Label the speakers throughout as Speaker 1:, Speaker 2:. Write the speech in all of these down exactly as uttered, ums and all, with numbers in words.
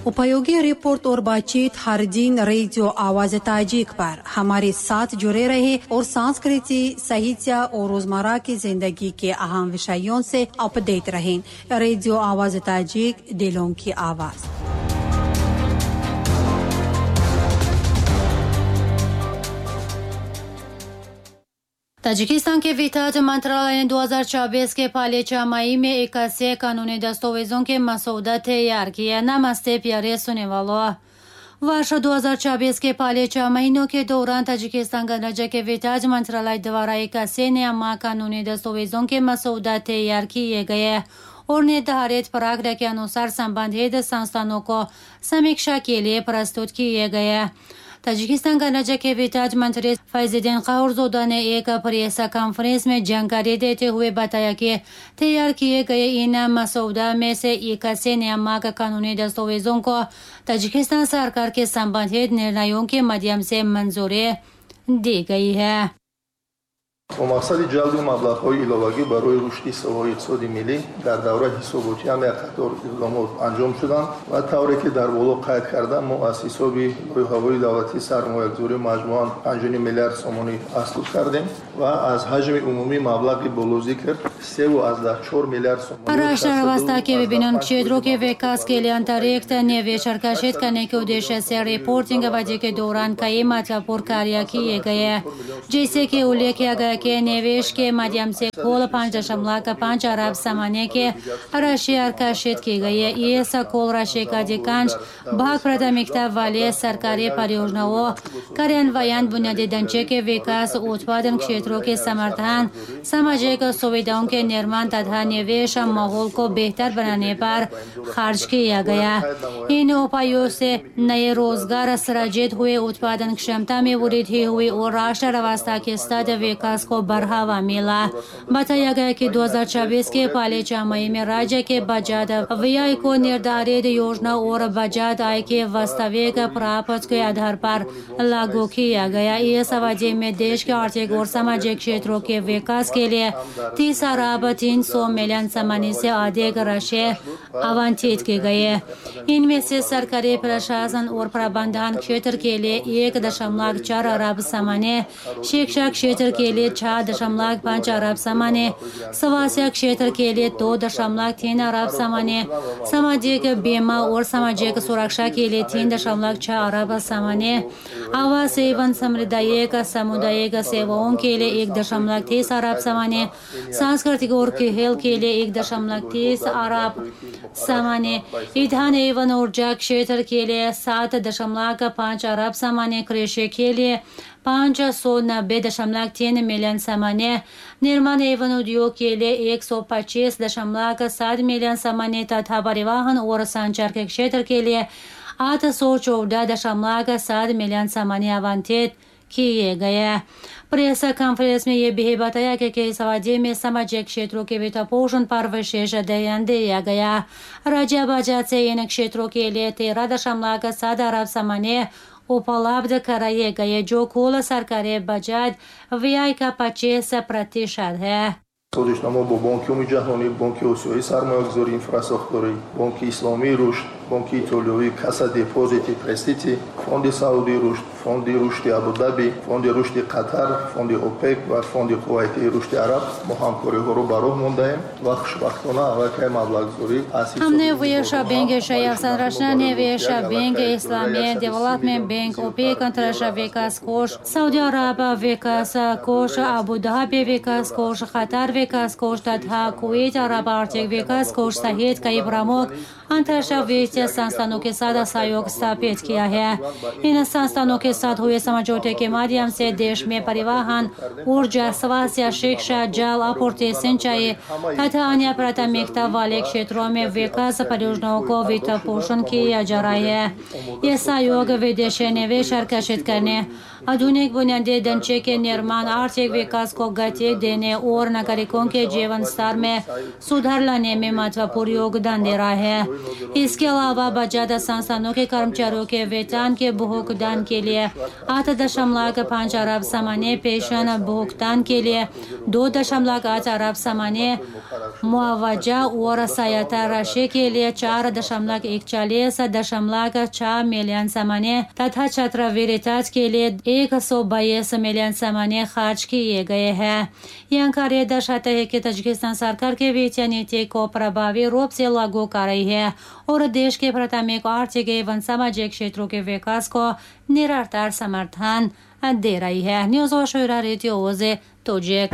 Speaker 1: उपयोगी रिपोर्ट और बातचीत हर दिन रेडियो आवाज ताजिक पर हमारे साथ जुड़े रहे और संस्कृति, साहित्य और रोजमर्रा की जिंदगी के अहम विषयों से अपडेट रहें। रेडियो आवाज ताजिक, दिलों की आवाज।
Speaker 2: ताजिकिस्तान के वित्त मंत्रालय ने दो हज़ार चौबीस के पहले छमाही में इक्यासी कानूनी दस्तावेजों के मसौदा तैयार किया। नमस्ते प्यारे सुनने वालों, वर्ष दो हज़ार चौबीस के पहले छह महीनों के दौरान ताजिकिस्तान गणराज्य के वित्त मंत्रालय द्वारा इक्यासी नियम कानूनी दस्तावेजों के मसौदा तैयार किए गए और निर्धारित प्रक्रिया के अनुसार संबंधित संस्थानों को समीक्षा के लिए प्रस्तुत किए गए। ताजिकिस्तान गणराज्य के वित्त मंत्री फैजुद्दीन क़ाहुरज़ोदा ने एक प्रेस कॉन्फ्रेंस में जानकारी देते हुए बताया कि तैयार किए गए इन मसौदा में से इक्यासी नियामक कानूनी दस्तावेजों को ताजिकिस्तान सरकार के संबंधित निर्णयों के माध्यम से मंजूरी दी गई है।
Speaker 3: Бо мақсади ҷалби маблағҳои иловагӣ барои рушди соҳаи иқтисоди миллӣ дар давраи ҳисоботӣ ҳам як қатор иқдомот анҷом шуданд ва тавре ки дар боло қайд кардам, мо аз ҳисоби лоиҳаҳои давлатии сармоягузорӣ маҷмӯан панҷ миллиард сомонӣ аслуд кардем ва аз ҳаҷми умумии маблағи болозикр севу аз даҳ чор миллиард сомонӣ।
Speaker 2: राष्ट्र अवस्था के विभिन्न क्षेत्रों के विकास के लिए अंतरिक्त निवेश आकर्षित करने के उद्देश्य से रिपोर्टिंग अवधि के दौरान कई महत्वपूर्ण कार्य किए गए, जैसे कि उल्लेख किया गया कि निवेश के माध्यम से कुल पाँच दशमलव पाँच अरब सामान्य के राशि आकर्षित की गई है। इस कुल राशि का अधिकांश भाग प्राथमिकता वाले सरकारी परियोजनाओं, कार्यान्वयन, बुनियादी ढांचे के विकास, उत्पादन क्षेत्रों के समर्थन, सामाजिक सुविधाओं के निर्माण तथा निवेश माहौल को बेहतर बनाने पर खर्च किया गया। इन उपायों से नए रोजगार सृजित हुए, उत्पादन क्षमता में वृद्धि हुई और राष्ट्र अवस्था के साथ विकास को बढ़ावा मिला। बताया गया कि दो हज़ार चौबीस के पहले छमाही में राज्य के बजट व्यय को निर्धारित योजना और बजट आय के वास्तविक प्राप्त के आधार पर लागू किया गया। इस अवधि में देश के आर्थिक और सामाजिक क्षेत्रों के विकास के लिए तीस अरब तीन सौ मिलियन सामान्य से अधिक राशि आवंटित की गई है। इनमें से सरकारी प्रशासन और प्रबंधन क्षेत्र के लिए एक दशमलव चार अरब सामान्य, शिक्षा क्षेत्र के लिए छह दशमलव पाँच अरब सामान्य, स्वास्थ्य क्षेत्र के लिए दो दशमलव तीन अरब सामान्य, सामाजिक बीमा और सामाजिक सुरक्षा के लिए तीन दशमलव छह अरब सामान्य, आवास एवं सामुदायिक सामुदायिक सेवाओं के लिए एक दशमलव तीस अरब सामान्य, सांस्कृतिक और खेल के लिए एक दशमलव तीस अरब सामान्य, ईंधन एवं ऊर्जा क्षेत्र के लिए सात दशमलव पाँच अरब सामान्य, कृषि के लिए पाँच सौ नब्बे दशमलव तीन मिलियन सामान्य, निर्माण एवं उद्योग के लिए एक सौ पच्चीस दशमलव सात मिलियन सामान्य तथा परिवहन और संचार के क्षेत्र के लिए आठ सौ चौदह दशमलव सात मिलियन सामान्य आवंटित किए गए। प्रेस कॉन्फ्रेंस में यह भी बताया कि इस अवधि में सामाजिक क्षेत्रों के वित्त पोषण पर विशेष ध्यान दिया गया। राज्य बजट से इन क्षेत्रों के लिए तेरह दशमलव सात अरब सामान्य उपलब्ध कराए गए, जो कुल सरकारी बजट व्यय का पच्चीस प्रतिशत है।
Speaker 3: Созишнома бо Бонки Умумии Ҷаҳонӣ, Бонки Осиёии сармоягузории инфрасохторӣ, Бонки Исломии рушд, Бонки Итолиёвӣ, Касса Депозити Престити, Фонди Саудии рушд, Фонди рушди Абудаби, Фонди рушди Қатар, Фонди ОПЕК ва Фонди Кувайтии рушди Араб мо ҳамкориҳоро ба роҳ мондаем ва хушбахтона аллакай маблағгузорӣ аз
Speaker 2: ҳисоби Банк Шаҳсанрашна Невеш Банк Ислами Девелопмент Банк, ОПЕК, Антарраштр Викас Кош, Сауди Араб Викас Кош, Абу Даби Викас Кош, Қатар विकास कोष तथा कुवैत अरब आर्थिक विकास कोष सहित कई प्रमुख अंतर्राष्ट्रीय वित्तीय संस्थानों के साथ सहयोग स्थापित किया है। इन संस्थानों के साथ हुए समझौते के माध्यम से देश में परिवहन, ऊर्जा, स्वास्थ्य, शिक्षा, जल आपूर्ति, सिंचाई तथा अन्य प्राथमिकता वाले क्षेत्रों में विकास परियोजनाओं को वित्त पोषण किया जा रहा है। यह सहयोग विदेशी निवेश आकर्षित करने, आधुनिक बुनियादी ढांचे के निर्माण, आर्थिक विकास को गति देने और नागरिकों के जीवन स्तर में सुधार लाने में महत्वपूर्ण योगदान दे रहा है। इसके अलावा बजट संस्थानों के कर्मचारियों के वेतन के भुगतान के लिए लिए आठ दशमलव पाँच अरब सामान्य पेंशन भुगतान के लिए दो दशमलव आठ अरब सामान्य मुआवजा और सहायता राशि के लिए चार दशमलव एक चालीस दशमलव छह मिलियन सामान्य तथा छात्रवृत्ति के लिए एक सौ बाईस मिलियन सामान्य खर्च किए गए हैं। यह कार्य दर्शाता है कि ताजिकिस्तान सरकार के वित्तीय नीति को प्रभावी रूप से लागू कर रही है और देश के प्राथमिक आर्थिक एवं सामाजिक क्षेत्रों के विकास को निरंतर समर्थन दे रही है। न्यूज़ ओशोरा रेडियो ओजे तोजिक।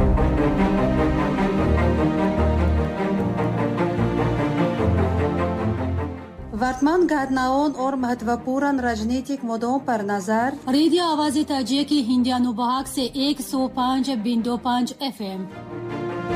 Speaker 1: वर्तमान घटनाओं और महत्वपूर्ण राजनीतिक मुद्दों पर नजर।
Speaker 2: रेडियो आवाज़ ताजिक की हिंदी अनुभाग से एक सौ पाँच बिंदु पाँच एफ एम।